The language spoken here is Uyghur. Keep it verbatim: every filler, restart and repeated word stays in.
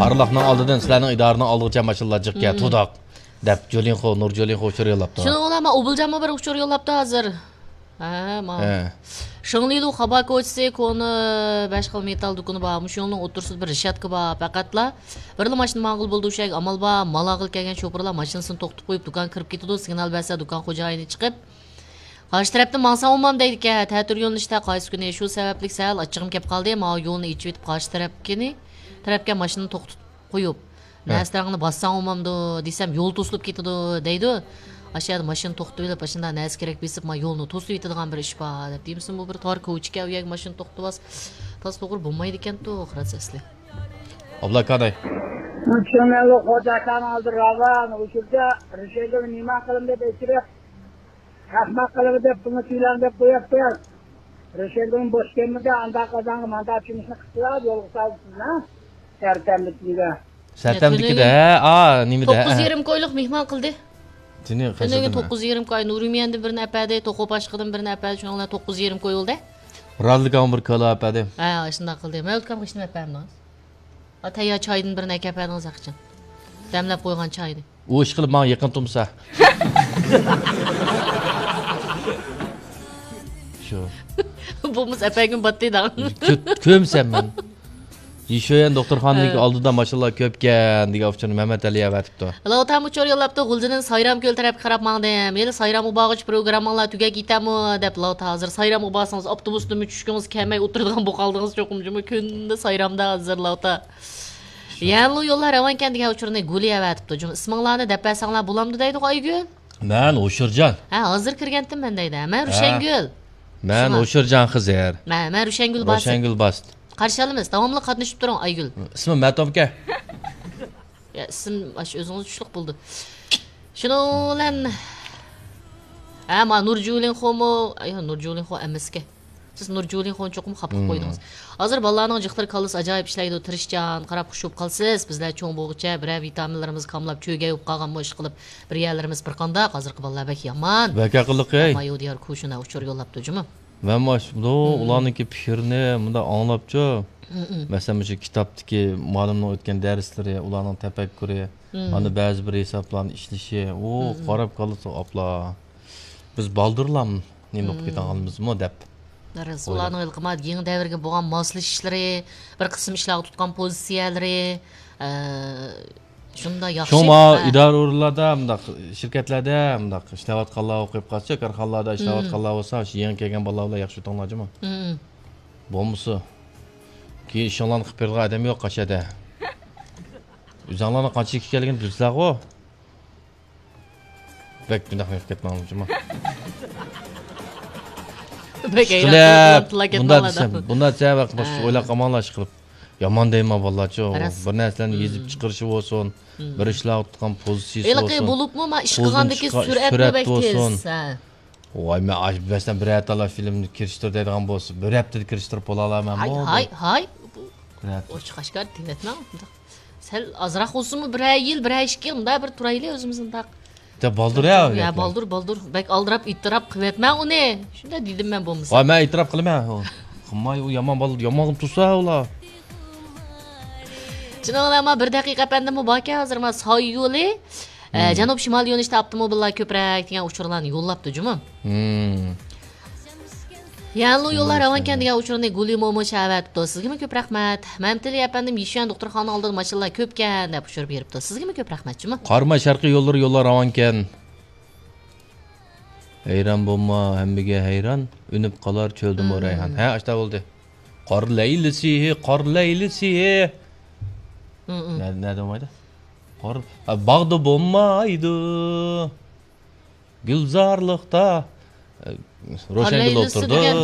ئارىلىقنىڭ ئالدىدىن سىلەرنىڭ ئىدارىنىڭ ئالدىغىچە ماشىنىلار جىقكەن، مم، تۇداق، دەپ جولىنخو، نۇر جولىنخو ئۇچۇر يوللاپتۇ. شۇنىڭ بىلەن ئۇبۇلجانمۇ بىر ئۇچۇر يوللاپتۇ ھازىر. ھە، ما. ھە. شېڭلىلۇ خابا كوچىسى كونا بەش خىل مېتال دۇكىنى بار. مۇشۇ يولنىڭ ئوتتۇرىسىدا بىر رېشاتكا بار. پەقەتلا بىرلا ماشىنا ماڭغىلى بولىدۇ، شۇ يەرگە ئامال بار. مال ئالغىلى كەلگەن شوپۇرلار ماشىنىسىنى توختىتىپ قويۇپ، دۇكان كىرىپ كېتىدۇ. سىگنال بەرسە، دۇكان خوجايىنى چىقىپ، قارشى تەرەپتىن ماڭساڭ ئومام دەيدىكەن، تەتۈر يۆنىلىشتە قايسى كۈنى. شۇ سەۋەبلىك سەل ئاچچىقىم كەپ قالدى. ماۋۇ يولنى ئېچىۋېتىپ، قارشى تەرەپكىنى، تەرەپكە ماشىنىنى توختىتىپ قويۇپ، ھە، نەرسىلىرىڭنى باسساڭ ئومامدۇ دېسەم، يول توسۇلۇپ كېتىدۇ دەيدۇ. ئاشۇ يەردە ماشىنا توختىتىۋېلىپ، ئاشۇنداق نەرسە كېرەك بېسىپ، ما يولنى توسۇۋېتىدىغان بىر ئىش بار دەپ دېمىسىمۇ، بىر تار كوچىكەن، ئۇ يەرگە ماشىنا توختىتىۋالسا، تازا توغرا بولمايدىكەنتۇ، خىراس ئەسلى. ئابلا كاناي. چۈشۈنمەيلى، خوجاكان ھازىر راۋان، ئۇچۇردا رىشەگۈل نېمە قىلىمەن دەپ ئېچىرىپ، ئەخمەق قىلىمەن دەپ، پۇلنى تۆلەڭ دەپ قويۇپتۇ. رىشەگۈلمۇ بوش كەلمىدى، ئاندا قازانغا ماندا چۈمۈشنى قىپتىلا، يولغا سالدى سىزنى. سەرتەمدىكىدە. سەرتەمدىكىدە، ھە، ئا، نېمىدە، توققۇز ھە. يېرىم كويلۇق مېھمان قىلدى. تېنى تۈنۈگۈن قايسىدىن؟ توققۇز يېرىم كوي، نۇرىمىيەندىن بىرنى ئەپەردى، توقۇ باشقىدىن بىرنى ئەپەردى، شۇنىڭ بىلەن توققۇز يېرىم كوي بولدى. رازىلىكاڭ بىر كالا ئەپەردى. ھە، شۇنداق قىلدى. مەۋلۇت ئاكامغا ھېچنېمە ئەپەردىڭىز؟ ئا، تەييار چايدىن بىرنى ئەكەپ بەردىڭىز ھەقىچان. دەملەپ قويغان چاينى. ئۇ ئىش قىلىپ ماڭا يېقىن تۇرمىسا. شۇ. بولمىسا ئەپەرگۈم باتتى دەڭ. كۆ-، كۆمسەم مەن. يىشۆيەن دوختۇرخانىنىڭكى ھە. ئالدىدا ماشىنىلار كۆپكەن دېگەن ئۇچۇرنى مەمەت ئەلى ئەۋەتىپتۇ. لاۋتا ئۇچۇر يوللاپتۇ، غۇلجىدىن سايرام كۆل تەرەپكە قاراپ ماڭدىم. ھېلى سايرامغا بارغۇچە پروگرامماڭلار تۈگەپ كېتەمۇ دەپ، لاۋتا ھازىر سايرامغا بارسىڭىز ئاپتوبۇستىنمۇ چۈشكىڭىز كەلمەي ئولتۇرىدىغان بولۇپ قالدىڭىز چوقۇم جۇمۇ كۈندە سايرامدا ھازىر لاۋتا. يەنلۇ يوللار راۋانكەن دېگەن ئۇچۇرنى گۈلى ئەۋەتىپتۇ. جۇمۇ ئىسمىڭلارنى دەپ بەرسەڭلار بولامدۇ دەيدىغۇ ئايگۈل. مەن ھوشۇرجان. ھە، ھازىر كىرگەنتىم مەن دەيدۇ. مەن ھە. روشەنگۈل. مەن شۇڭا. ھوشۇرجان خېزەر. مەن، مەن روشەنگۈل باسىت. روشەنگۈل باسىت. قارشى ئالىمىز. داۋاملىق قاتنىشىپ تۇرۇڭ ئايگۈل. ئىسمىم مەتومكە. يا، ئىسىم ئاشۇ ئۆزىڭىز چۈشلۈك بولدى. شۇنىڭ بىلەن، ھە، ما نۇرجۇلىنخومۇ، ئاي، نۇرجۇلىنخو ئەمەسكەن. سىز نۇرجۇلىنخونى چوقۇم خاپا قىلىپ مم. قويدىڭىز. ھازىر بالىلارنىڭ جىقلىرى كاللىسى ئاجايىپ ئىشلەيدۇ، تىرىشچان، قاراپ خۇش بولۇپ قالىسىز. بىزلەر چوڭ بولغۇچە بىرەر ۋىتامىنلىرىمىز كاملاپ، چۆگەي بولۇپ قالغانمۇ ئىشقىلىپ، بىر يەرلىرىمىز بىر قانداق، ھازىرقى بالىلار بەك يامان. بەك ئەقىللىق، ئەي. مايۇ دىيار كۇشۇنا ئۇچۇر يوللاپتۇ جۇمۇ. مەن ماش-، بۇ مم. ئۇلارنىڭكى پىكرىنى مۇنداق ئاڭلاپچۇ. مم. مەسىلەن، مۇشۇ كىتابتىكى مۇئەللىمنىڭ ئۆتكەن دەرسلىرى، ئۇلارنىڭ تەپەككۇرى، مم. ئاندىن بەزى بىر ھېسابلارنى ئىشلىشى، ئۇ مم. قاراپ قالسا، ئاپلا، بىز بالدۇرلام نېمە بولۇپ مم. كېتىۋالغانمىزمۇ دەپ ئويلاپ. ئۇلارنىڭ ھېلىقى ما يېڭى دەۋرگە بولغان ماسلىشىشلىرى، بىر قىسىم ئىشلارغا تۇتقان پوزىتسىيەلىرى، ئە، شۇنداق ياخشى. شۇڭا ھە. ئىدارە ئورۇنلاردا مۇنداق، شىركەتلەردە مۇنداق ئىشلەۋاتقانلار، ئوقۇپ قالسا، كارخانىلاردا ئىشلەۋاتقانلار بولسا، شۇ يېڭى كەلگەن بالىلار بىلەن ياخشى ئۆتۈڭلار جۇمۇ. مم. بولمىسا، كېيىن ئىشىڭلارنى قىلىپ بېرىدىغان ئادەم يوق قاشەدە. ئۆزۈڭلارنىڭ قانچىلىك ئىكەنلىكىنى بىلىسىلەرغۇ. بەك بۇنداق نېمە قىلىپ كەتمەڭلار جۇمۇ. بەك ئىشقىلىپ، بۇنداق دېسەم، بۇنداق دېسەم، ھە. ئويلاپ قالماڭلار ئىشقىلىپ. يامان دەيمەن بالىلارچۇ. راست. بىر نەرسىلەرنى يېزىپ مم. چىقىرىشى بولسۇن، مم. بىر ئىشلارغا تۇتقان پوزىتسىيىسى ھېلىقى بولسۇن. بولۇپمۇ ما ئىشقا قىلغاندىكى سۈرئەتمۇ بەك تېز. ھە. ۋاي، مەن ئاش-، مەسىلەن، بىرەر تالا فىلىمنى كىرىشتۈر دەيدىغان بولسا، بىر ھەپتىدە كىرىشتۈرۈپ بولالايمەنمۇ؟ ھاي، ھاي، ھاي. بىر ھەپتە. ئوچۇق ئاشكارا دېۋەتمەڭ. سەل ئازراق بولسىمۇ، بىرەر يىل، بىرەر ئىككى يىل مۇنداق بىر تۇرايلى ئۆزىمىز مۇنداق. يا، بالدۇر يا، يا، يا. بالدۇر، بالدۇر. بەك ئالدىراپ، ئېتىراپ قىلىۋەتمەڭ ئۇنى. شۇنداق دېدىم مەن بولمىسا. ۋاي، مەن ئېتىراپ قىلىمەن. قىلماي، ئۇ يامان بالا، يامان قىلىپ تۇرسا ئۇلار. شۇنىڭ بىلەن ما بىر دەقىقە ئەپەندىممۇ باركەن، ھازىر ما ساي يولى. ئە، مم. جەنۇب شىمال يۆنىلىشتە ئاپتوموبىللار كۆپرەك دېگەن ئۇچۇرلارنى يوللاپتۇ جۇمۇ. مم. يەنلۇ يوللار راۋانكەن دېگەن ئۇچۇرنى گۈلى مومو شەۋەتىپتۇ. سىزگىمۇ كۆپ رەھمەت. مەمتىلى ئەپەندىم، يىشۈەن دوختۇرخانا ئالدىدا ماشىنىلار كۆپكەن دەپ ئۇچۇر بېرىپتۇ. سىزگىمۇ كۆپ رەھمەت جۇمۇ. قاراماي شەرقىي يوللىرى يوللار راۋانكەن. ھەيران بولما، ھەممىگە ھەيران، ئۈنۈپ قالار چۆلدىمۇ مم. رەيھان. ھە، ئاشتا بولدى. قار لەيلىسى، قار لەيلىسى. مم، مم. نە-، نەدە بولمايدۇ؟ قار، ھە، باغدا بولمايدۇ. گۈلزارلىقتا، ئە، روشەنگۈل ئولتۇرىدۇ. دېگەن.